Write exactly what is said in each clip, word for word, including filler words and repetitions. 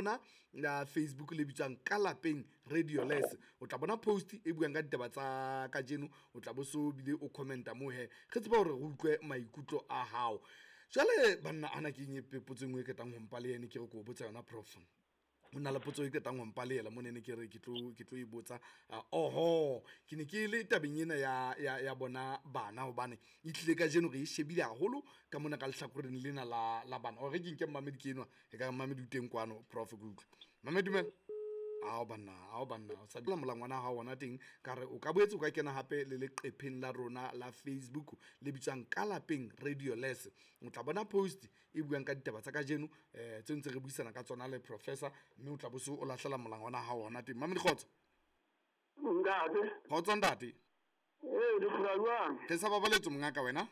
rona la Facebook le bitswang Ka Lapeng Radio Les. O tla bona post e buang ka ditaba tsa kajeno, o tla bo so bile o commenta moo he, re tseba hore re utlwe maikutlo a hao. Jwale banna, ana ke eng e potso e nngwe e qetang ho mpa le ene ke re ke o botsa yona, prof? Ho na le potso e qetang ho mpa le ela mona, ne ke re ke tlo ke tlo e botsa. Oho, ke ne ke le tabeng ena ya ya ya bona bana, hobane e tlile kajeno re e shebile haholo ka mona ka lehlakoreng lena la la bana. Ore ke nke mmamedi ke enwa, e ka mmamedi o teng kwano, prof, ke utlwe. Mmamedi, dumela. Ao banna, ao banna, o sa dula molangwana wa hao ona teng. Ka re o ka boetse o ka kena hape le leqepheng la rona la Facebook le bitswang Ka Lapeng Radio Les. O tla bona post e buang ka ditaba tsa kajeno, eh tse ntse re buisana ka tsona le professor, mme o tla bo so o lahlela molangwana wa hao ona teng. Mamedi, kgotso. Ntate. Kgotso ntate. Ee, le phela jwang? Re sa babaletso mongaka wena?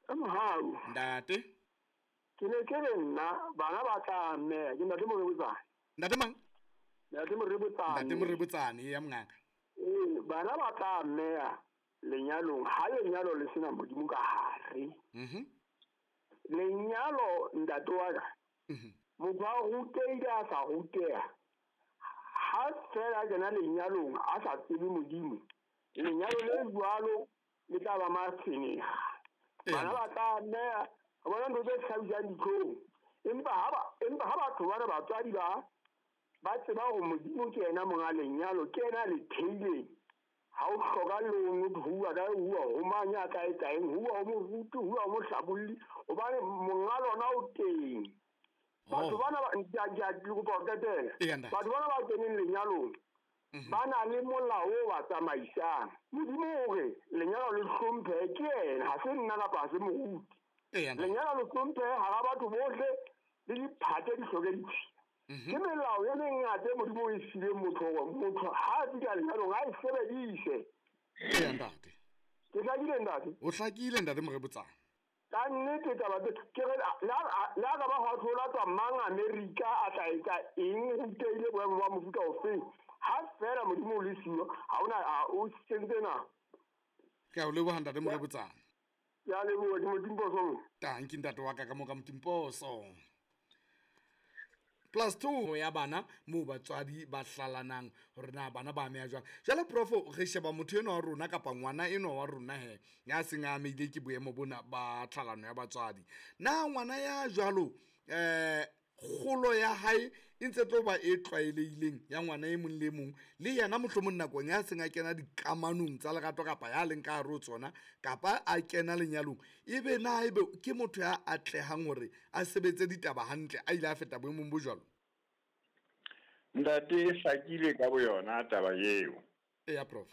Ka mohau. Ntate. Ke ne ke re nna bana ba tla mme ke ntate Morebotsane. Ntate mang? Ntate Morebotsane. Ntate Morebotsane ya mongaka. Ee, bana ba tla mme lenyalong ha lenyalo le sena Modimo ka hare. Mhm. Lenyalo ntate wa ka. Mhm. Motho a rutehile a sa ruteha. Ha fela kena lenyalong a sa tsebe Modimo, lenyalo le jwalo le tla ba matshwenyega. Bana ba tla mme bona ntho tse hlabisang ditlhong. Empa ha ba empa ha batho bana batswadi ba ba tseba hore Modimo ke yena monga lenyalo, ke yena le theileng. Ha o hloka loan ho bua ka ho bua ho mang ya tla etsa eng, ho bua ho moruti, ho bua ho mohlabolli, hobane monga lona o teng. Batho bana ba ke ke kopa ho qetela. Batho bana ba keneng lenyalong ba na le molao o ba tsamaisang. Modimo o re lenyalo le hlomphe ke yena, ha se nna kapa ha se moruti. Lenyalo le hlomphe hara batho bohle le diphate di hloke ditshila. Ke melao e mengata e Modimo o e fileng motho hore motho ha a fihla lenyalong a e sebedise. Eya ntate. Ke hlakile ntate? O hlakile ntate Morebotsane. Ka nnete taba tse ke re la la ka ba ho thola tswa mang America a tla etsa eng, rutehile boemo ba mofuta ofeng. Ha fela Modimo o le siyo, ha ona o sentse na. Ke a o leboha ntate Morebotsane. Ke a leboha, ke Motimposo. Tanki ntate wa ka ka mo ka Motimposo. Plus two ya bana moo batswadi ba hlalanang hore na bana ba ameha jwang. Jwale profo, re sheba motho enwa wa rona kapa ngwana enwa wa rona he ya seng a amehile ke boemo bona ba tlhalano ya batswadi. Na ngwana ya jwalo eh kgolo ya hae e ntse tlo ba e tlwaelehileng ya ngwana e mong le mong, le yena mohlomong nakong ya seng a kena dikamanong tsa lerato kapa ya leng ka hare ho tsona kapa a kena lenyalong, ebe na ebe ke motho ya atlehang hore a sebetse ditaba hantle a ile a feta boemong bo jwalo? Ntate, e hlakile ka boyona taba eo. Eya prof.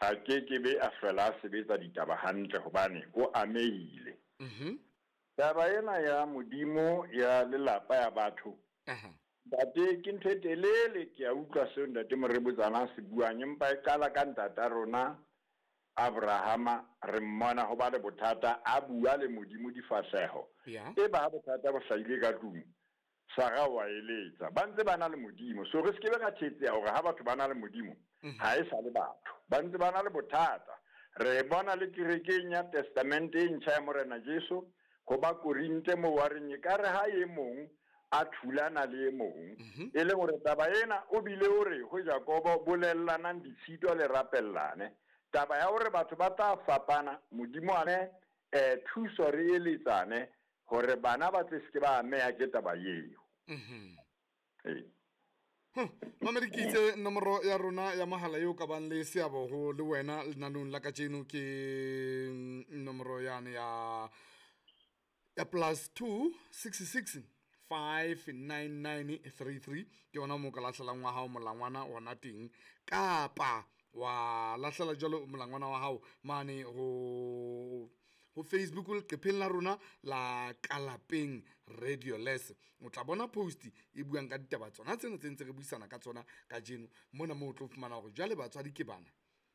A ke ke be a hlola a sebetsa ditaba hantle hobane o amehile. Mhm. Taba ena ya Modimo ya lelapa ya batho. Aha. Ntate, ke ntho e telele, ke a utlwa seo ntate Morebotsane a se buang, empa e qala ka ntata rona Abrahama, re mmona ho ba le bothata, a bua le Modimo difahleho. Yeah. E ba bothata bo hlahile ka tlung, Sara wa eletsa. Ba ntse ba na le Modimo. So re se ke be ra thetseha hore ha batho ba na le Modimo, ha e sa le batho. Ba ntse ba na le bothata. Re bona le kerekeng ya Testamente e ntjha ya Morena Jesu, ho ba Korinthe moo wa reng ekare ha e mong a thulana le e mong. E le hore taba ena o bile o re ho Jakobo bolellanang ditshito le rapellane. Taba ya hore batho ba tla fapana, Modimo a ne eh thuso re eletsane hore bana ba tle se ke ba ameha ke taba eo. Mhm. Ee. Mamedi, ke itse nomoro ya rona ya mohala eo ka bang le seabo ho le wena lenanong la kajeno ke nomoro yane ya ya plus two six six five nine nine three three. Ke yona moo ka lahlelang wa hao molangwana ona teng, kapa wa lahlela jwalo molangwana wa hao mane ho ho Facebook leqepheng la rona la Ka Lapeng Radio Les. O tla bona post e buang ka ditaba tsona tsena tse ntse re buisana ka tsona kajeno mona, moo o tlo fumana hore jwale batswadi ke bana